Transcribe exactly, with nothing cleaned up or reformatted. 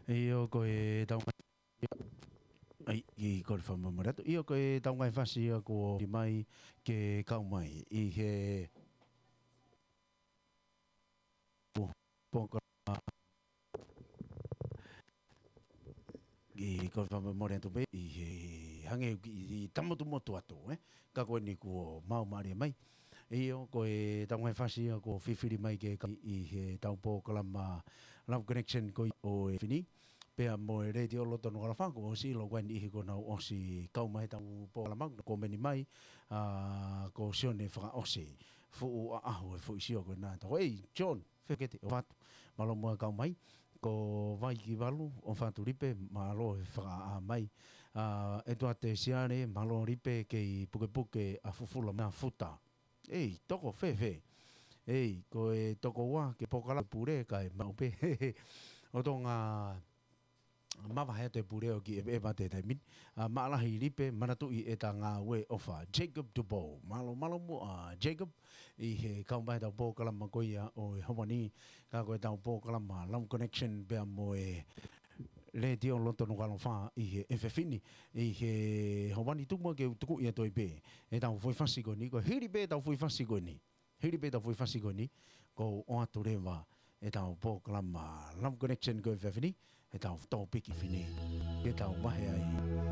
ʻIo, ko e tau ngaahi, ʻai, ʻi ko e fakamolemole atu. ʻIo, ko e tau ngaahi fasi ia kuo ʻomai ke kau mai ʻi he pō-, pōkalama. ʻI ko e fakamolemole atu pē ʻi he hangē ʻoku ʻi tamotumotu atu, ē? Ka ko eni kuo maumauʻi mai. ʻIo, ko e tau ngaahi fasi ia kuo fifili mai ke kau ʻi he tau pōkalama Love Connection ko ia ʻo e fefine. Pea mo e Letiō Loto Nukuʻalofa, kuo ʻosi ʻilo ko eni ʻi he kuo nau ʻosi kau mai he tau pōkalama, ko eni mai, ʻa, ko Sione Fakaʻosi. Fuʻu ʻaʻahu e fuʻu sio ko ena. Tau, ei, John, fekete, ʻofa atu. Mālō muʻa kau mai. Ko Vaikivalu, ʻofa atu Lipe, mālō e fakaʻā mai. ʻA, ʻEtuate Siale, mālō Lipe, kei pukepuke ʻa Fufula Mafuta. Ei, toko fēfē. Ei, ko e toko ua, ke pōkalama pule, kae maʻu pē. ʻO Tonga mavahe atu e pule ʻo ki ʻEveʻeva he taimi ni. ʻA, mālō lahi Lipe, manatuʻi ʻeta ngāue ʻofa. Jacob Dubow. Mālō, mālō muʻa Jacob. ʻI he kau mai he tau pōkalama ko ia ʻo e ʻaho ni. Ka ko e tau pōkalama Love Connection pea mo e Letiō Loto Nukuʻalofa ʻi he efiafi ni. ʻI he ʻaho ni tuku muʻa ke u tukuʻi atu ai pē e tau foʻi fasi ko eni, ko e hili pē tau foʻi fasi ko eni. Hili pē tau foʻi fasi ko eni, ko u ʻoatu leva e tau pōkalama Love Connection ko e efiafi ni, e tau tōpiki fine, ke tau vahe ai.